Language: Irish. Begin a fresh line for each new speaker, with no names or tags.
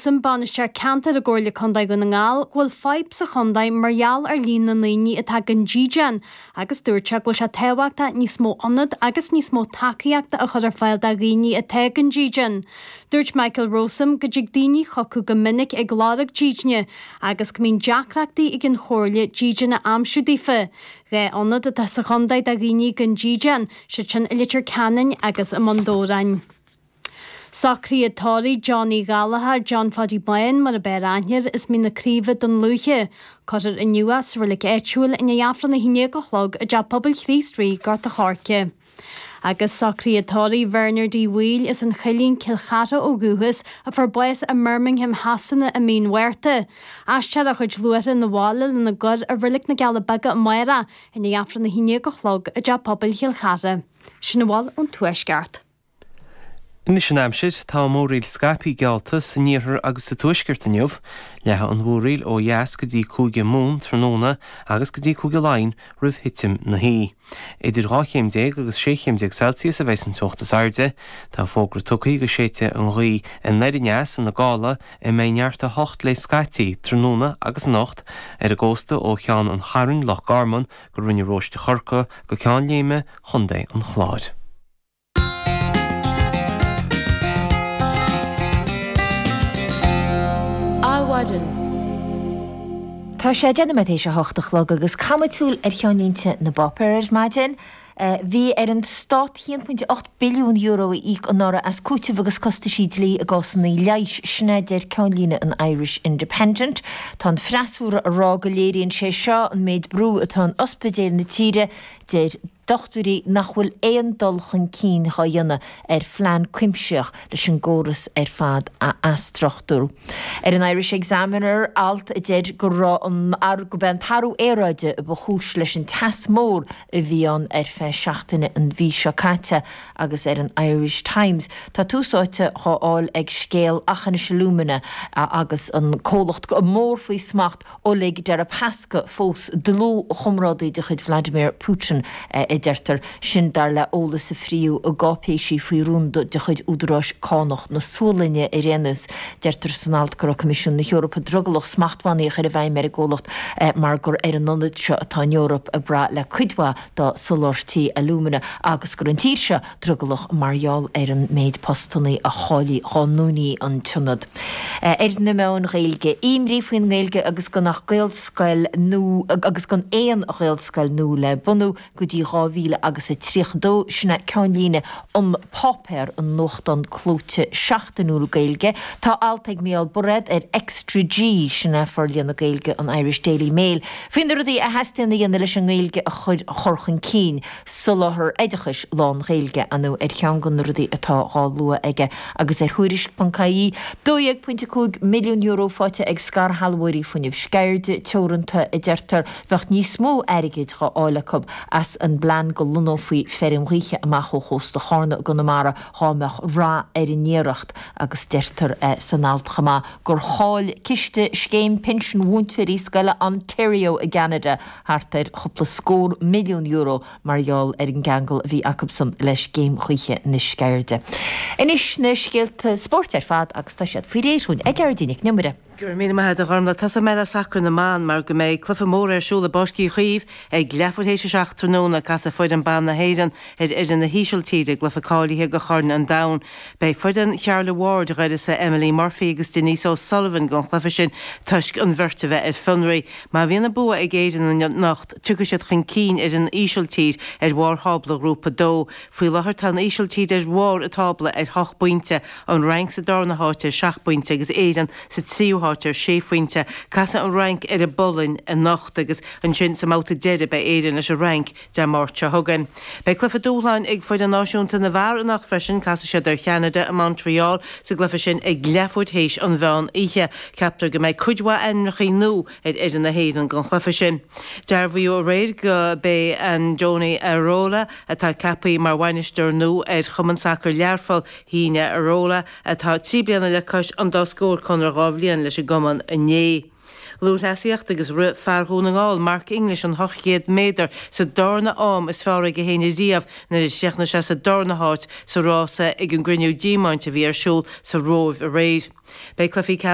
Rowsome, Bainisteoir Ceantair i gComhairle Contae Dhún na nGall, go bhfuil fadhb sa chontae mar gheall ar líon na ndaoine atá gan dídean agus dúirt sé go bhfuil sé tábhachtach níos mó ionad agus níos mó tacaíochta a chur ar fáil do dhaoine atá gan dídean. Dúirt Michael Rowsome go dtig daoine chucu go minic ag lorg dídine agus go mbíonn deacrachtaí ag an Chomhairle dídean a aimsiú daofa. 2 ionad atá sa chontae do dhaoine gan dídean, siad sin i Leitir Ceanainn agus i mBun Dobhráin. Socruithe tórraimh John Uí Ghallchóir, John Phaidí Bán mar ab fhearr aithne air, as Mín na Craoibhe, Dún Lúiche. Cuirfear inniu é sa reilig áitiúil i ndiaidh Aifreann 11 a chlog i dTeach Pobail Chríost Rí, Gort a' Choirce. Agus socruithe tórraimh Bhernard Uí Bhaoill as an Choillín, Cill Chartha ó dhúchas, a fuair bás i mBirmingham Shasana i mí an Mhárta. Aistreofar a chuid luaithreach 'na bhaile lena gcur i Reilig na gCealla Beaga amárach i ndiaidh Aifreann 11 a chlog i dTeach Pobail Chill Chartha. Sin a bhfuil ón Tuaisceart.
Anois an aimsir, tá múraíl scaipthe geallta san iarthar agus sa tuaisceart inniu. Leathfaidh an mhúraíl ó dheas go dtí Cúige Mumhan tráthnóna agus go dtí Cúige Laighean roimh thitim na hoíche. Idir 12 chéim agus 16 chéim Celsius a bheidh an teocht is airde. Tá fógra tugtha go séidfidh an ghaoth anoir aneas ina gála a mbeidh neart 8 léi scaití tráthnóna agus anocht ar an gcósta ó Cheann an Chairn, Loch Garman, go Rinn an Róiste Chorcaí go Ceann Léime Chontae an Chláir.
Adhmhaidin. Tá sé 10 nóiméad théis a hocht a chlog agus caithfimid súil ar cheannlínte na bpáipéar ar maidin. Bhí ar an Stát €1.8 billiún a íoc anuraidh as cúiteamh agus costaisí dlí i gcásanna leighis, sin é a deir ceannlíne an Irish Independent. Tá an freasúra ag rá go léiríonn sé seo an méid brú atá in ospidéil na tíre, deir dochtúirí nach bhfuil aon dul chun cinn dhá dhéanamh ar phlean cuimsitheach leis an gcóras ar fad a athstruchtúrú. Ar an Irish Examiner, alt a deir go raibh an gurb é an t-athrú aeráide a ba chúis leis an teas mór a bhí ann ar feadh seachtaine an mhí seo caite agus ar an Irish Times tá tús áite dhá fháil ag scéal Aughinish Alumina agus an comhlacht mór faoi smacht Oleg Deripaska fós dlúthchomrádaí de chuid Vladimir Putin, a deirtear. Sin dar le eolas a fríodh i gcáipéisí faoi rún de chuid údaráis cánach na Sualainne ar aon nós. Deirtear san alt go raibh Coimisiún na hEorpa drogallach smachtbhannaí a chur i bhfeidhm ar an gcomhlacht mar gur ar an ionad seo atá an Eoraip ag brath le cuid mhaith dá soláthairtí alúmana agus go raibh an tír seo drogallach mar gheall ar an méid postannaí a chaillfí dhá ndúnfaí an t-ionad. Ar na meáin Ghaeilge, imní faoin nGaeilge agus gan ach Gaelscoil nua agus gan aon Ghaelscoil nua le bunú go dtí 2000 agus a 32, sin é ceannlíne An Páipéar, an nuachtán clóite seachtainiúil Gaeilge. Tá alt ag Mícheál Bairéad ar Extra G, sin é forlíonadh Gaeilge an Irish Daily Mail, faoi na rudaí a theastaíonn a dhéanamh leis an nGaeilge a chur chun cinn. Soláthar oideachais lán-Ghaeilge, ar ndóigh, ar cheann de na rudaí atá dhá lua aige agus ar Thuairisc.ie, €12.5 milliún faighte ag scairshealbhóirí Fuinneamh Sceirde Teoranta, a deirtear. Bheadh níos mó airgid dhá fháil acu as an bplean go lonnófaí feirm ghaoithe amach ó chósta Chárna i gConamara dhá mbeadh rath ar an iarracht agus deirtear san alt chomh maith gur chaill ciste scéim pinsin mhúinteoirí scoile Ontario i gCeanada thart ar chúpla scór milliún euro mar gheall ar an gceangal a bhí acusan le scéim ghaoithe na Sceirde. Anois na scéalta spóirt ar fad agus tá siad faoi réir dhúinn ag Gearóidín Nic an Iomaire.
Go raibh míle maith agat a Ghormlaith. Tosóidh mé le sacar na mban mar go mbeidh cluiche mór ar siúl i bPáirc Uí Chaoimh ag leathuair théis a 7 tráthnóna. Casfaidh foireann ban na hÉireann ar fhoireann na hÍsiltíre i gcluiche cáilithe do Chorn an Domhain. Beidh foireann Charla Ward d'uireasa Emily Murphy agus Denise O'Sullivan don chluiche sin toisc an bheirt a bheith ar fionraí. Má bhíonn an bua ag Éirinn anocht, tiocfaidh siad chun cinn ar an Ísiltír ar bharr thábla Ghrúpa 2. Faoi láthair tá an Ísiltír ar bharr an tábla ar hocht bpointe, an Fhrainc sa darna háit ar sheacht bpointe agus Éirinn sa tríú háit ar sé phointe. Casfaidh an Fhrainc ar an bPolainn anocht agus ansin sa mbabhta deiridh beidh Éirinn leis an Fhrainc Dé Máirt seo chugainn. Beidh cluiche dúshláin ag foireann náisiúnta na bhfear anocht freisin, casfaidh siad ar Cheanada i Montreal sa gcluiche sin ag leathuair théis an mheán oíche. Ceaptar go mbeidh cuid mhaith ainmneacha nua ar fhoireann na hÉireann don chluiche sin. Dearbhaíodh aréir go b'é Andoni Iraola atá ceaptha mar bhainisteoir nua ar Chumann Sacair Learpholl. Shínigh Iraola, atá 3 bliana le cois an dá scór, conradh 2 bhliain leis an gcumann inné. Lúthchleasaíocht agus rith fear Dhún na nGall, Mark English an 800 méadar sa darna am is fearr aige féin ariamh nuair a chríochnaigh sé sa darna háit sa rása ag an gCruinniú Diamaint a bhí ar siúl sa Róimh aréir. Beidh cluichí.